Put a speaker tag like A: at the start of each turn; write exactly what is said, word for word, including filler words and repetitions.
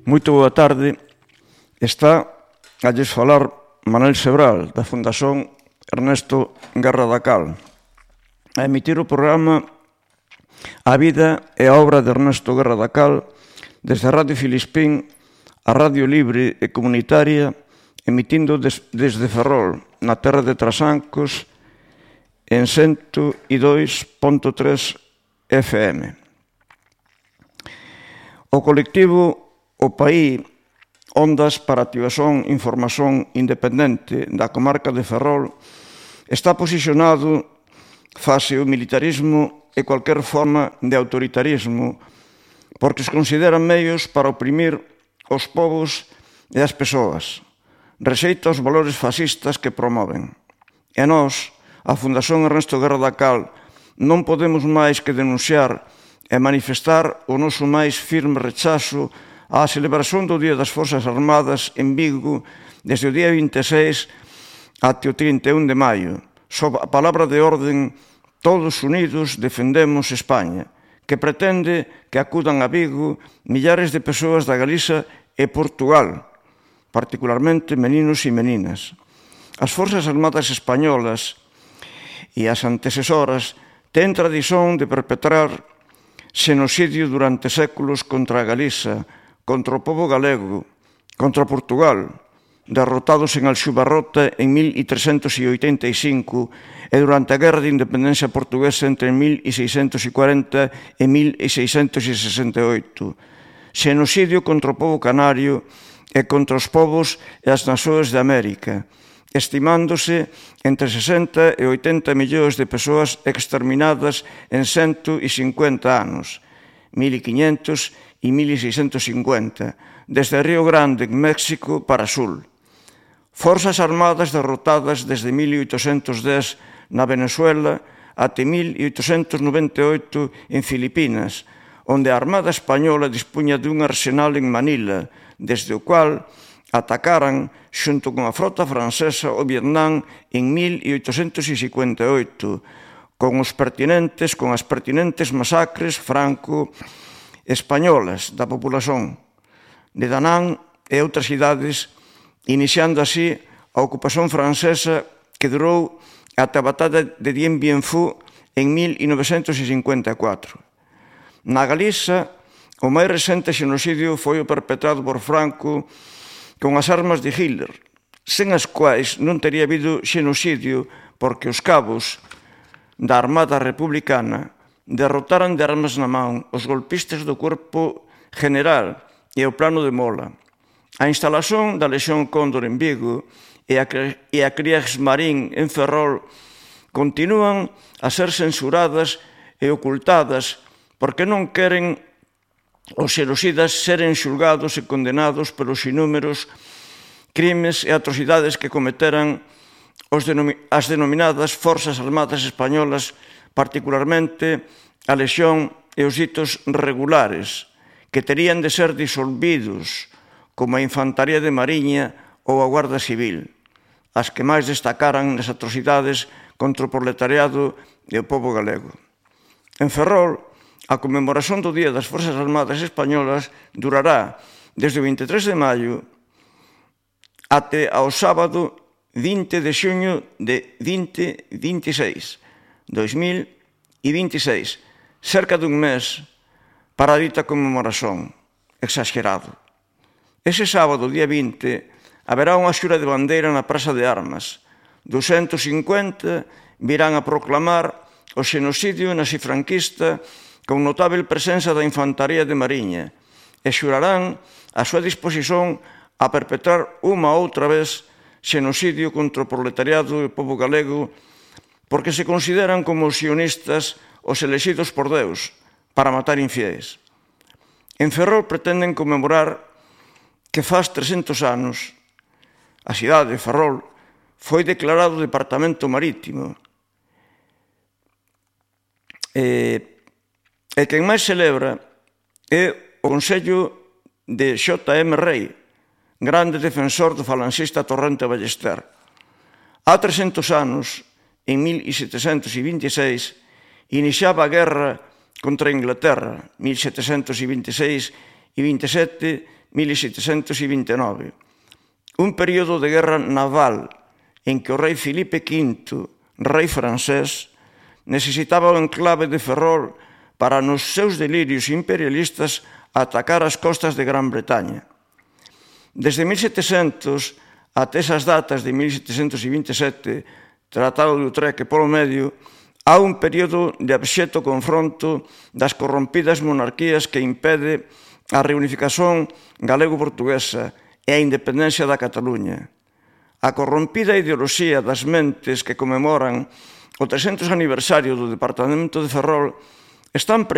A: Moito boa tarde. Está a lles falar Manuel Sebral, da Fundación Ernesto Guerra da Cal, a emitir o programa A vida e a obra de Ernesto Guerra da Cal desde a Radio Filispín, a Radio Libre e Comunitaria, emitindo des, desde Ferrol, na terra de Trasancos, en cento e dous punto tres F M. O colectivo O País Ondas para a Activación e Información Independente da comarca de Ferrol está posicionado face o militarismo e cualquier forma de autoritarismo porque os consideran meios para oprimir os povos e as persoas. Rexeita os valores fascistas que promoven. E nós, a Fundación Ernesto Guerra da Cal, non podemos máis que denunciar e manifestar o noso máis firme rechazo á celebración do Día das Forzas Armadas en Vigo desde o día vinte e seis até o trinta e un de maio. Sob a palabra de orden, todos unidos defendemos España, que pretende que acudan a Vigo millares de persoas da Galiza e Portugal, particularmente meninos e meninas. As Forzas Armadas Españolas e as antecesoras ten tradición de perpetrar xenocidio durante séculos contra a Galiza, contra o povo galego, contra Portugal, derrotados en Alxubarrota en mil trescentos oitenta e cinco e durante a Guerra de Independencia Portuguesa entre mil seiscentos cuarenta e mil seiscentos sesenta e oito. Xenocidio contra o povo canario e contra os povos e as nações de América, estimándose entre sesenta e oitenta millóns de persoas exterminadas en cento cincuenta anos, mil quinhentos e mil seiscentos cincuenta, desde Río Grande, en México, para Sul. Forzas armadas derrotadas desde mil oitocentos dez na Venezuela até mil oitocentos noventa e oito en Filipinas, onde a Armada Española dispuña dun arsenal en Manila, desde o cual atacaran xunto con a frota francesa o Vietnam en mil oitocentos cincuenta e oito, con os pertinentes, con as pertinentes masacres franco españolas da populación de Danán e outras cidades, iniciando así a ocupación francesa que durou ata a batalla de Dien Bien Phu en mil novecentos cincuenta e catro. Na Galiza, o máis recente xenocidio foi o perpetrado por Franco con as armas de Hitler, sen as quais non teria habido xenocidio porque os cabos da Armada Republicana derrotaran de armas na man os golpistas do Cuerpo General e o Plano de Mola. A instalación da Lexión Cóndor en Vigo e a, e a Kriegsmarine en Ferrol continúan a ser censuradas e ocultadas porque non queren os xenocidas seren xulgados e condenados pelos inúmeros crimes e atrocidades que cometeran os denomi- as denominadas Forzas Armadas Españolas, particularmente a Lexión e os ditos regulares, que terían de ser disolvidos, como a Infantaría de Mariña ou a Guarda Civil, as que máis destacaran nas atrocidades contra o proletariado e o povo galego. En Ferrol, a conmemoración do Día das Forzas Armadas Españolas durará desde o vinte e tres de maio até ao sábado vinte de xuño de vinte vinte e seis, dos mil vinte e seis, cerca dun mes para a dita conmemoración. Exagerado. Ese sábado, día vinte, haberá unha xura de bandeira na Praza de Armas. ducentos cincuenta virán a proclamar o xenocidio nazi-franquista con notável presenza da Infantaría de Mariña e xurarán a súa disposición a perpetrar unha outra vez xenocidio contra o proletariado e o povo galego porque se consideran como sionistas os elexidos por Deus para matar infiéis. En Ferrol pretenden conmemorar que faz trescentos anos a cidade de Ferrol foi declarado departamento marítimo e, e quen máis celebra é o Consello de X M Rei, grande defensor do falanxista Torrente Ballester. Há trescentos anos, en mil setecentos vinte e seis, iniciaba a guerra contra a Inglaterra, mil setecentos vinte e seis e vinte e sete, mil setecentos vinte e nove. Un período de guerra naval en que o rei Filipe quinto, rei francés, necesitaba o enclave de Ferrol para nos seus delirios imperialistas atacar as costas de Gran Bretaña. Desde mil setecentos até esas datas de mil setecentos vinte e sete, Tratado de Utrecht polo medio, há un período de abxecto confronto das corrompidas monarquías que impede a reunificación galego-portuguesa e a independencia da Cataluña. A corrompida ideoloxía das mentes que conmemoran o trescentos aniversario do Departamento de Ferrol están preñadas